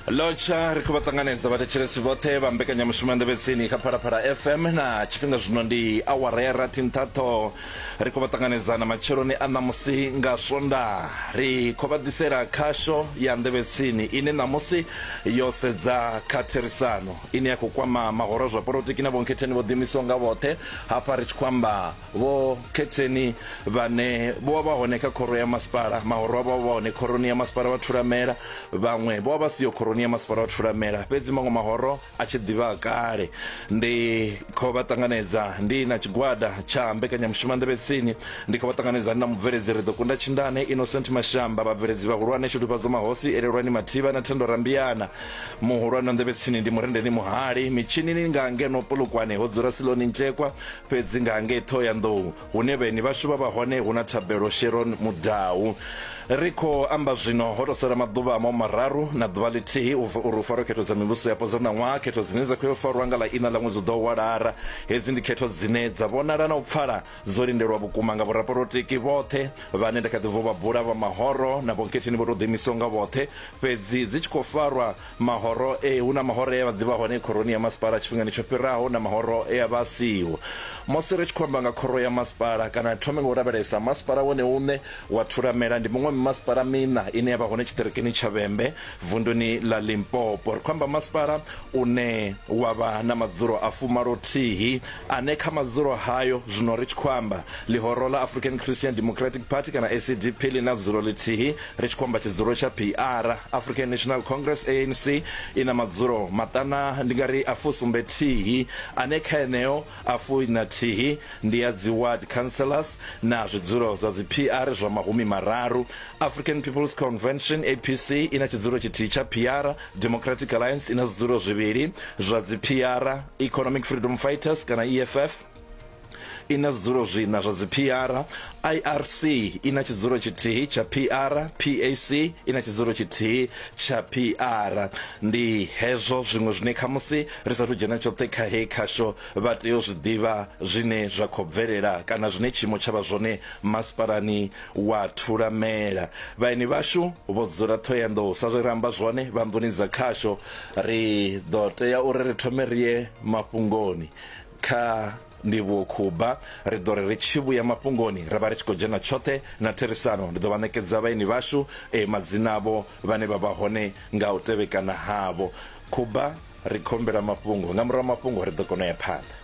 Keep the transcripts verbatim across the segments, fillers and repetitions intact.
Lotsha ri khou vha ṱanganedza vhathetshelesi vhoṱhe vha mbekanyamushumo ya Nḓevhetsini kha Phalaphala F M na tshifhinga zwino ndi awara ya rathi nṱha ṱhoho. Ri khou vha ṱanganedza na matsheloni a ṋamusi nga Swondaha. Ri khou vha ḓisela khasho ya Nḓevhetsini ine ṋamusi yo sedza kha therisano ine ya khou kwama mahoro a zwa polotiki na vhonkhetheni vho ḓiimisaho nga vhoṱhe. Hafha ri tshi khou amba vho khetheni vhane vho vha hone kha khoro ya masipala, mahoro avho vha hone khoroni ya masipala wa Thulamela, vhaṅwe vho vha siho khoroni ya masipala wa Thulamela, fhedzi maṅwe mahoro a tshi ḓivha kale. Ndi khou vha ṱanganedza ndi na tshigwada tsha mbekanyamushumo ya Nḓevhetsini, ndi khou vha ṱanganedza na mubveledzi ri ḓo kunda Tshindane Innocent Mashamba, vhabveledzi vhahulwane Shudufhadzo Mahosi, Elelwani Mathivha na Thendo Rambiana. Muhulwane wa Nḓevhetsini ndi Murendeni Muhali, mitshinini nga ngeno Polokwane ho dzula Siloni Ntlekwa, fhedzi nga ngei Thohoyandou hune vhaeni vhashu vha vha hone hu na Thabelo Sharon Mudau. Ri khou amba zwino ho tou sala maḓuvha a mararu na ḓuvha ḽithihi uri u farwe khetho dza mivhuso yapo dza ṋaṅwaha, khetho dzine dza khou yo farwa nga ḽa iṋa ḽa ṅwedzi u ḓo wa Lara. Hedzi ndi khetho dzine dza vhonala na u pfala dzo lindelwa vhukuma nga vhorapolotiki vhoṱhe vhane nda kha ḓi bva vha bula vha mahoro na vhonkhetheni vho tou ḓiimisaho nga vhoṱhe, fhedzi dzi tshi khou farwa mahoro e hu na mahoro e a vha ḓivha hone khoroni ya masipala tshifhingani tsho fhiraho na mahoro e a vha siho. Musi ri tshi khou amba nga khoro ya masipala kana thome nga u lavhelesa masipala wone uṋe wa Thulamela ndi muṅwe mimasipala miṋa ine ya vha hone tshiṱirikini tsha Vhembe vunduni ḽa Limpopo. Ri khou amba masipala une wa vha na madzulo a fumalothihi ane kha madzulo hayo zwino ri tshi khou amba ḽihoro ḽa African Christian Democratic Party kana A C D P ḽi na dzulo ḽithihi, ri tshi khou amba tshidzulo tsha P R. African National Congress A N C i na madzulo maṱana ndi nga ri a fusumbe thihi ane kha eneo a fuiṋa thihi ndi ya dzi ward councillors na zwidzulo zwa dzi P R zwa mahumi mararu. African People's Convention A P C i na tshidzulo tshithihi tsha P R, Democratic Alliance i na zwidzulo zwivhili zwa dzi P R, Economic Freedom Fighters kana E F F i na zwidzulo zwiṋa zwa dzi P R, I R C i na tshidzulo tshithihi tsha P R, P A C i na tshidzulo tshithihi tsha P R. Ndi hezwo zwiṅwe zwine khamusi ri sathu dzhena tshoṱhe kha hei khasho vha tea u zwi ḓivha zwine zwa khou bvelela kana zwine tshiimo tsha vha zwone masipalani wa Thulamela. Vhaeni vhashu vho dzula Thohoyandou sa zwe ra amba zwone vha nḓuni dza khasho. Ri ḓo tea uri ri thome ri ye mafhungoni kha Ndivhuwo Khuba. Ri ḓo ri ri tshi vhuya mafhungoni ra vha ri tshi khou dzhena tshoṱhe na therisano. Ndi ḓo vha ṋekedza vhaeni vhashu e madzina avho vhane vha vha hone nga u tevhekana havho. Khuba, ri khou humbela mafhungo. Nga murahu ha mafhungo ri ḓo kona u ya phanḓa.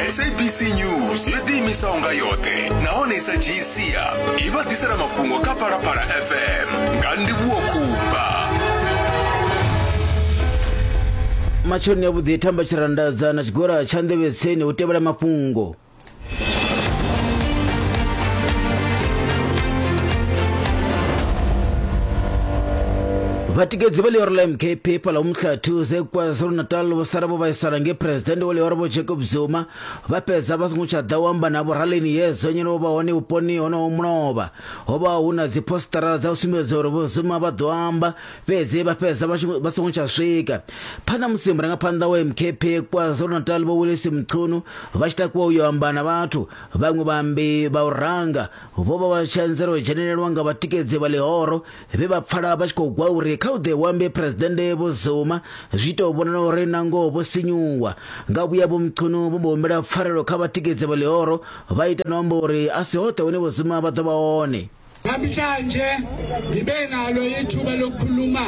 S A B C News yo ḓiimisaho nga yoṱhe nahone i sa dzhii sia i vha ḓisela mafhungo kha Phalaphala F M nga Ndivhuwo Khuba. Matsheloni a vhuḓi thamba tshirandadza na tshigwada tsha Nḓevhetsini u tevhela mafhungo. Vhatikedzi vha ḽihoro ḽa M K P fhaḽa Umhlathuze KwaZulu-Natal vho sala vho vhaisala nge phuresidennde wa ḽihoro Vho Jacob Zuma vha fhedza vha songo tsha ḓa u amba navho ralini ye zonyelo vho vha hone vhuponi honoho mulovha. Ho vha hu na dzi postara dza u sumbedza uri Vho Zuma vha ḓo amba, fhedzi vha fhedza vha songo tsha swika. Phanḓa musi murangaphanḓa wa M K P KwaZulu-Natal Vho Willis Mchunu vha tshi takuwa u yo amba na vhathu, vhaṅwe vhaambi vha u ranga vho vha vha tshi anzela u dzhenelelwa nga vhatikedzi vha ḽihoro vhe vha pfala vha tshi khou gwa uri kha u ḓe wambe phuresidennde Vho Zuma. Zwi tou vhonala uri nangoho vho sinyuwa. Nga vhuya Vho Mchunu vho mbo humbela pfarelo kha vhatikedzi vha ḽihoro, vha ita no amba uri a si hoṱhe hune Vho Zuma vha ḓo vha hone. Namhlanje ngibe nalo ithuba lokukhuluma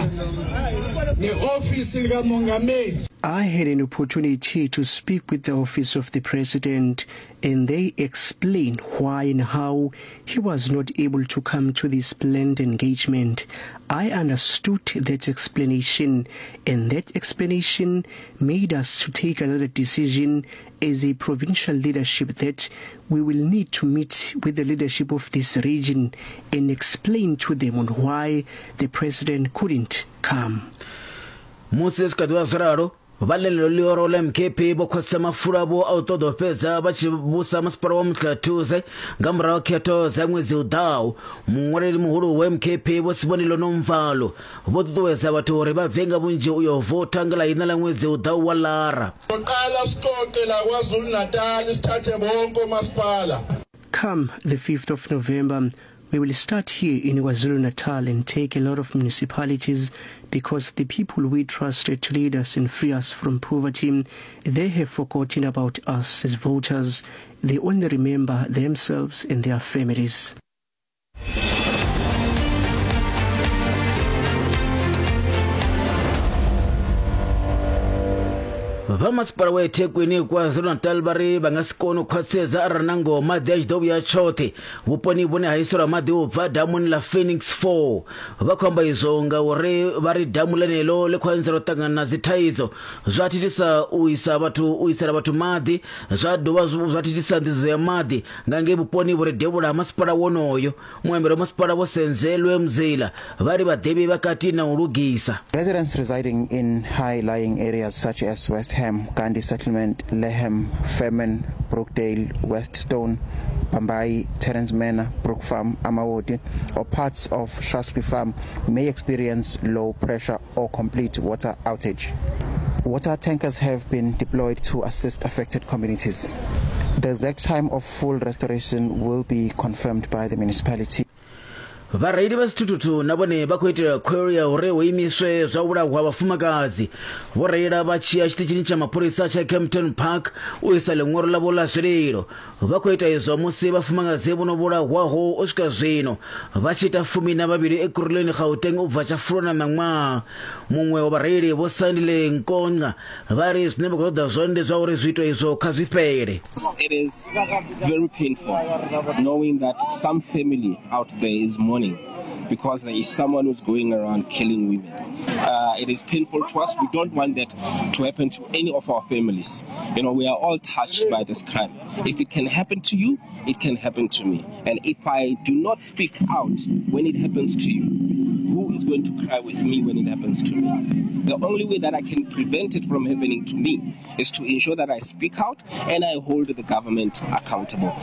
neofisi likamongameli. I had an opportunity to speak with the office of the president, and they explained why and how he was not able to come to this planned engagement. I understood that explanation, and that explanation made us to take another decision as a provincial leadership that we will need to meet with the leadership of this region and explain to them on why the president couldn't come. Musi zwi kha ḓi vha zwo ralo, vha ḽeneḽo ḽihoro ḽa M K P vho khwaṱhisa mafulo avho a u ṱoḓa u fhedza vha tshi vhusa masipala wa Umhlathuze nga murahu ha khetho dza ṅwedzi u ḓaho. Muṅwaleli muhulu wa M K P Vho Sibonelo Nomvalo vho ṱuṱuwedza vhathu uri vha bve nga vhunzhi u yo votha nga ḽa iṋa ḽa ṅwedzi u ḓaho wa Lara. Soqala siqoqe la KwaZulu-Natal sithathe bonke omasipala. Come the fifth of November, We will start here in KwaZulu-Natal and take a lot of municipalities because the people we trusted to lead us and free us from poverty, they have forgotten about us as voters. They only remember themselves and their families. Vha masipala wa eThekwini KwaZulu-Natal vha ri vha nga si kone u khwaṱhisedza arali na ngoho maḓi a tshi ḓo vhuya tshoṱhe vhuponi vhune ha iselwa maḓi u bva damuni ḽa Phoenix four. Vha khou amba izwo ngauri vha ri damu ḽeneḽo ḽi khou anzela u ṱangana na dzithaidzo, zwa thithisa u isa vhathu u isela vhathu maḓi, zwa dovha zwa thithisa nḓisedzo ya maḓi nga ngei vhuponi vhu re devhula ha masipala wonoyo. Muambeli wa masipala Vho Senzelwe Mzila vha ri vhaḓivhi vha kati na u lugisa. Residents residing in high-lying areas such as West Ham, Gandhi Settlement, Leham, Fairman, Brookdale, Weststone, Bambai, Terence Manor, Brook Farm, Amawodi, or parts of Shaftesbury Farm may experience low pressure or complete water outage. Water tankers have been deployed to assist affected communities. The exact time of full restoration will be confirmed by the municipality. Vhareili vha zwithuthuthu na vhone vha khou itela khuwelelo ya uri hu imiswe zwa vhulahwa vhafumakadzi. Vho reila vha tshi ya tshiṱitshini tsha mapholisa tsha Kempton Park u isa ḽiṅwalo ḽavho ḽa zwililo. Vha khou ita izwo musi vhafumakadzi vho no vhulahwaho u swika zwino vha tshi ita fumi na vhavhili Ekurhuleni Gauteng u bva tsha Fulwana ṋaṅwaha. Muṅwe wa vhareili Vho Sandile Nkonga vha ri zwine vha khou ṱoḓa zwone ndi zwa uri zwiito izwo kha zwi fhele. It is very painful knowing that some family out there is mourning because there is someone who's going around killing women. Uh, it is painful to us. We don't want that to happen to any of our families. You know, we are all touched by this crime. If it can happen to you, it can happen to me. And if I do not speak out when it happens to you, who is going to cry with me when it happens to me? The only way that I can prevent it from happening to me is to ensure that I speak out and I hold the government accountable.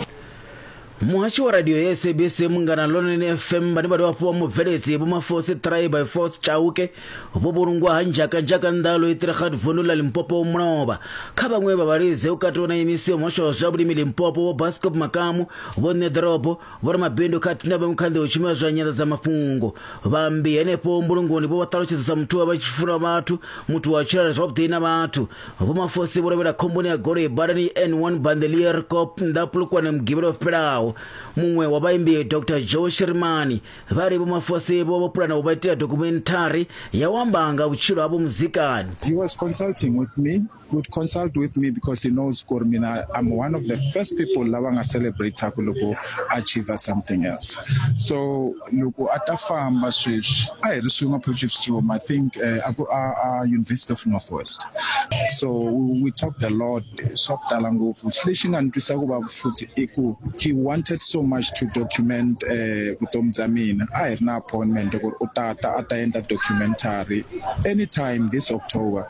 Muhashi wa radio ya S A B C Munghana Lonene F M vhane vha dovha hafhu vha mubveledzi Vho Mafosi three by Force Chauke vho vhulungwa ha nzhakanzhaka nḓalo i vundu ḽa Limpopo mulovha. Kha vhaṅwe vha vhalidzi u katelwa na imisi ya muhasho wa zwa vhulimi Limpopo Vho Bascop Makamu, Vho Ṋeḓorobo, Vho Ramabindu khathihi na vhaṅwe kha nḓila u shumisa zwa nyanḓadzamafhungo. Vhaambi henefho mbulungoni vho vha ṱalutshedza sa muthu wa vha tshi funa vhathu, muthu wa tshila zwavhuḓi na vhathu. Vho Mafosi vho lovhela khomboni ya goloi badani N one Bandelier Cop nḓa Polokwane Mugivhela wo fhelaho. Muṅwe wa vhaimbi Doctor Joe Shirimani vha ri Vho Mafosi vho vho pulana u vha itela documentary ya u amba nga vhutshilo havho muzikani. He was consulting with me, would consult with me because he knows Kormina, I'm one of the first people lava nga celebrate loko achieve something else. So loko ata famba sweswi a hi ri swin'we Potchefstroom, I think uh, uh, University of Northwest. So we talked a lot, swa ku tala ngopfu. Lexi nga ni twisa ku vava futhi i ku he wanted so much to document vutomi bya mina. A hi ri na appointment ku ri u tata a ta endla documentary anytime this October.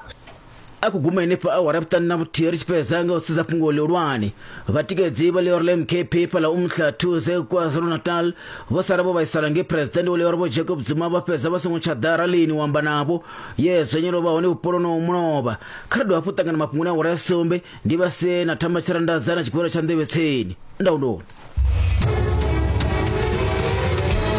A ku guma henefha awara ya vhuṱanu na vhuthihi ri tshi fhedza nga u sedza fhungo ḽihulwane. Vhatikedzi vha ḽioro ḽa M K P fhaḽa Umhlathuze KwaZulu-Natal vho sala vho vhaisala nge President wa ḽioro Vho Jacob Zuma vha fhedza vha songo tsha ḓa ralini u amba navho ye zwenyelo vha hone vhupoloni mulovha. Kha ri dovha hafhu ṱangana mafhungoni a awara ya sumbe ndi vha sie na Thamba Tshirandadza na tshigwevho tsha Nḓevhe Tseni. Ndaulo.